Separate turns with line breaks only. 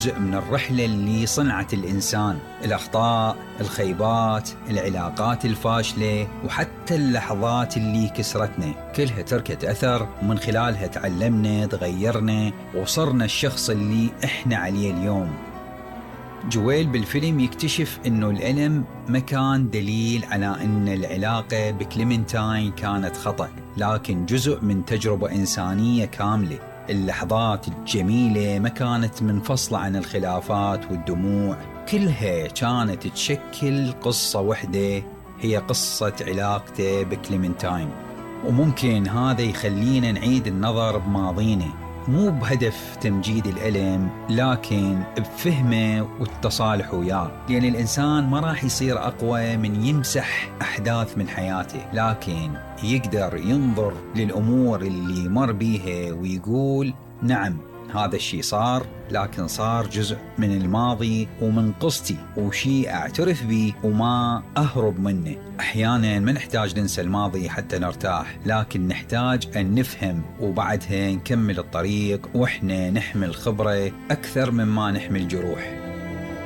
جزء من الرحلة اللي صنعت الإنسان. الأخطاء، الخيبات، العلاقات الفاشلة، وحتى اللحظات اللي كسرتنا، كلها تركت أثر، ومن خلالها تعلمنا، تغيرنا، وصرنا الشخص اللي إحنا عليه اليوم. جويل بالفيلم يكتشف إنه الألم ما كان دليل على إن العلاقة بكليمنتاين كانت خطأ، لكن جزء من تجربة إنسانية كاملة. اللحظات الجميلة ما كانت منفصلة عن الخلافات والدموع، كلها كانت تشكل قصة واحدة، هي قصة علاقته بكليمنتاين. وممكن هذا يخلينا نعيد النظر بماضينا، مو بهدف تمجيد الألم، لكن بفهمه والتصالح وياه. لأن الإنسان ما راح يصير أقوى من يمسح أحداث من حياته، لكن يقدر ينظر للأمور اللي مر بيها ويقول نعم هذا الشيء صار، لكن صار جزء من الماضي ومن قصتي، وشيء أعترف به وما أهرب منه. أحيانا ما نحتاج ننسى الماضي حتى نرتاح، لكن نحتاج أن نفهم وبعدها نكمل الطريق وإحنا نحمل خبرة أكثر مما نحمل جروح.